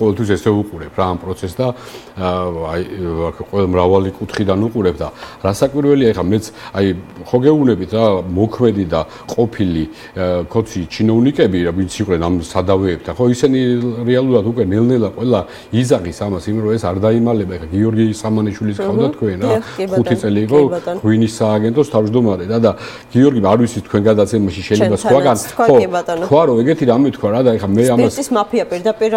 ყოველთვის ესე უყურებ რა ამ პროცესს და აი ყველა მრავალი კუთხიდან უყურებ და რასაკვირველია ეხლა მეც აი ხო გეუბნებით რა მოქმედი და ყოფილი კოცი ჩინოვნიკები რა ვინც იყვნენ ამ სადავეებთან ხო ისინი რეალურად უკვე ნელ-ნელა ყველა იზაღის ამას იმ რომ ეს არ დაიმალება ეხლა გიორგი სამანიშვილის ყავდა თქვენ რა 5 წელი იყო ღვინის სააგენტოს თავმჯდომარე და გიორგი არ ვიცი თქვენ გადაცემაში შეიძლება სხვაგან ხო თქვა რომ ეგეთი რამე თქვა რა და ეხლა მე ამას სპირტის მაფია პირდაპირ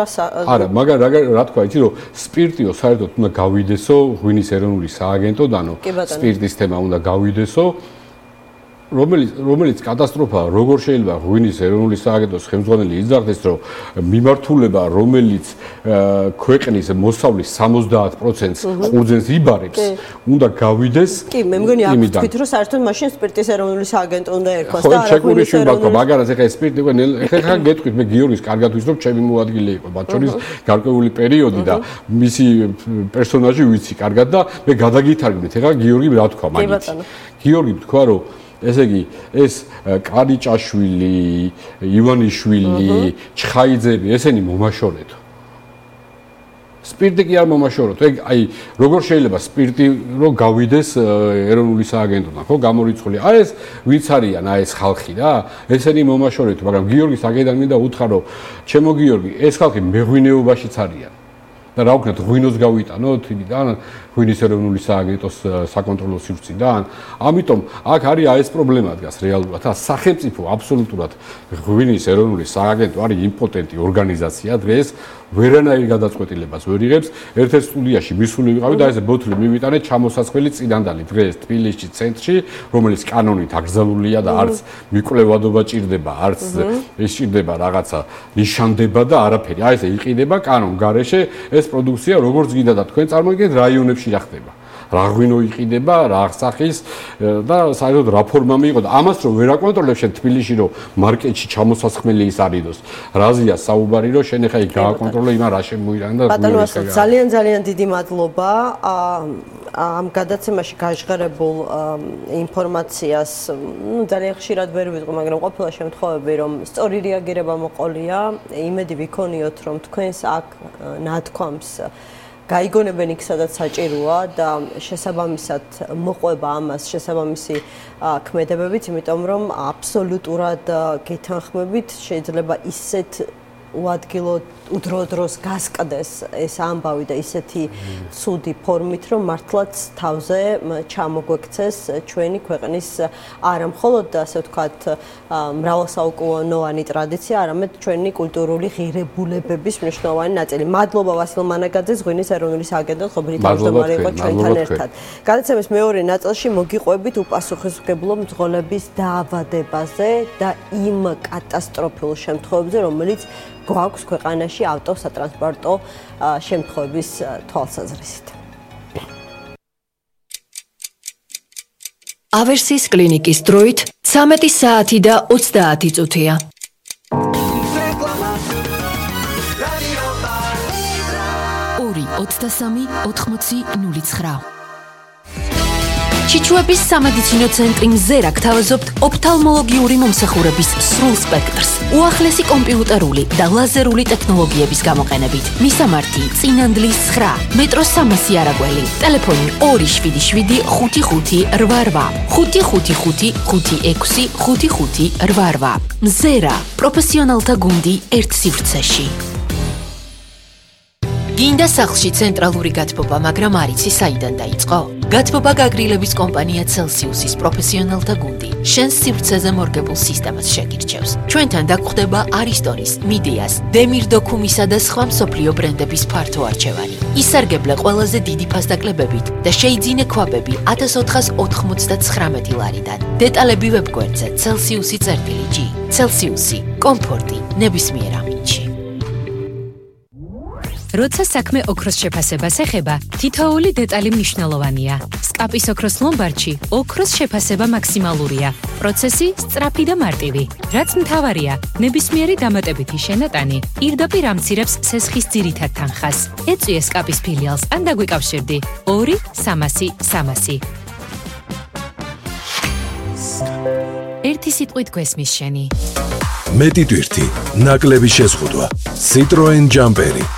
არა მაგრამ რა თქვა იცი რომ სპირტიო საერთოდ უნდა გავიდესო ღვინის ეროვნული სააგენტოდანო სპირტის თემა უნდა გავიდესო რომელიც კატასტროფაა როგორ შეიძლება ღვინის ეროვნული სააგენტოს ხელმძღვანელი იზარდეს რომ მიმართულება რომელიც ქვეყნის მოსავლის 70%-ს ყურძენს იბარებს უნდა გავიდეს კი მე მგონი აქ თქვით რომ საერთოდ მაშინ სპირტის ეროვნული სააგენტო უნდა ერქვას და არა ღვინის ეროვნული მაგარას ეხა სპირტი ეხა გეტყვით მე გიორგის კარგად ვიცი რომ ჩემი მოადგილე იყო მათ შორის გარკვეული პერიოდი და მისი პერსონაჟი ვიცი კარგად და მე გადაგითარგმნით ეხა გიორგი რა თქვა მაგით გიორგი თქვა რომ ესე იგი ეს კარიჭაშვილი, ივანიშვილი, ჩხაიძები, ესენი მომაშორეთო. სპირტი კი არ მომაშოროთ. ეგ აი როგორ შეიძლება სპირტი რო გავიდეს ეროვნული სააგენტოდან, ხო, გამორიცხული. აი ეს ვინც არიან, აი ეს ხალხი რა, ესენი მომაშორეთო, მაგრამ გიორგის აგედან მინდა უთხრა რომ ჩემო გიორგი, ეს ხალხი მეღვინეობაშიც არიან. და რა ვქნათ, ღვინოს გავიტანოთ იმიდან ღვინის ეროვნული სააგენტოს საკონტროლო სივრციდან. ამიტომ აქ არის ეს პრობლემა დგას რეალურად. სახელმწიფო აბსოლუტურად ღვინის ეროვნული სააგენტო არის იმპოტენტი ორგანიზაცია დღეს ვერანაირ გადაწყვეტილებას ვერ იღებს. ერთ-ერთ სტუდიაში მისული ვიყავი და ესე ბოთლი მივიტანე ჩამოსასხელი წინანდალი დღეს თბილისში ცენტრში, რომელიც კანონით აკრძალულია და არც მიკვლევადობა ჭირდება, არც ის ჭირდება რაღაცა ნიშანდება და არაფერი. აი ესე იყიდება კანონ გარეშე ეს პროდუქცია როგორც გინდა და თქვენ წარმოგიდგენთ რაიონებში რა ხდება. რა ღვინო იყიდება, რა სახის და საერთოდ რა ფორმა მიიღო და ამას რომ ვერ აკონტროლებ შენ თბილისში რომ მარკეტში ჩამოსასხმელი ის არიდოს. რაზია საუბარი რომ შენ ახლა იქ გააკონტროლე იმან რა შემოირან და ბატონო ძალიან დიდი მადლობა ამ გადაცემაში გაჟღერებულ ინფორმაციას. ძალიან ხშირად ვერ ვიტყვი, მაგრამ ყოფილა შემთხვევები რომ სწორი რეაგირება მოყოლია. იმედი ვიქონიოთ რომ თქვენს აქ ნათქვამს გაიგონებენ იქ სადაც საჭიროა და შესაბამისად მოყვება ამას შესაბამისი ქმედებებით, იმიტომ რომ აბსოლუტურად გეთანხმებით შეიძლება ისეთ უადგილო udro-dros გასკდეს ეს ამბავი და ისეთი ცუდი ფორმით რომ მართლაც თავზე ჩამოგვექცეს ჩვენი ქვეყნის არა მხოლოდ ასე ვთქვათ მრავალსაუკუნოვანი ტრადიცია, არამედ ჩვენი კულტურული ღირებულებების მნიშვნელოვანი ნაწილი. მადლობა ვასილ მანაგაძეს, ღვინის ეროვნული სააგენტოს ყოფილი თავმჯდომარე იყო ჩვენთან ერთად. გადაცემის მეორე ნაწილში მოგიყვებით უპასუხისმგებლო მძღოლების დაავადებაზე და იმ კატასტროფულ შემთხვევებზე, რომელიც გვაქვს ქვეყანაში ავტოსატრანსპორტო შემთხვევების თვალსაზრისით. ავერსის კლინიკის დროით 13 საათი და 30 წუთია. ორი 23 80 09. ჩიჩუების სამედიცინო ცენტრი მზერა გთავაზობთ ოფთალმოლოგიური მომსახურების სრულ სპექტრს, უახლესი კომპიუტერული და ლაზერული ტექნოლოგიების გამოყენებით. მისამართი: წინანდლის 9, მეტროს 300 არაგველი, ტელეფონი 277 55 88, 555 56 55 88. მზერა, პროფესიონალთა გუნდი ერთ სივრცეში. გინდა სახლში ცენტრალური გათბობა, მაგრამ არ იცი საიდან დაიწყო? გათბობა გაგრილების კომპანია Celsius-ის პროფესიონალთა გუნდი შენს სივრცეზე მორგებულ სისტემას შეგირჩევს. ჩვენთან დაგხვდება Aristonis, Midias, Demir Documisa და სხვა მსოფლიო ბრენდების ფართო არჩევანი. ისარგებლე ყველაზე დიდი ფასდაკლებებით და შეიძინე ქვაბები 1499 ლარიდან. დეტალები ვებგვერდზე Celsius-ი. Celsius-ი, კომფორტი ნებისმიერ ამინდში. როცა საქმე ოქროს შეფასებას ეხება, თითოეული დეტალი მნიშვნელოვანია. სკაპის ოქროს ლომბარდში ოქროს შეფასება მაქსიმალურია. პროცესი სწრაფი და მარტივი. რაც მთავარია, ნებისმიერი დამატებითი შენატანი პირდაპირ ამცირებს სესხის ძირითად თანხას. ეწვიე სკაპის ფილიალს ან დაგვიკავშირდი 2 300 300. ერთი სიტყვით გვესმის შენი. მეტი ტვირთი, ნაკლები შეზღუდვა. Citroen Jumperi.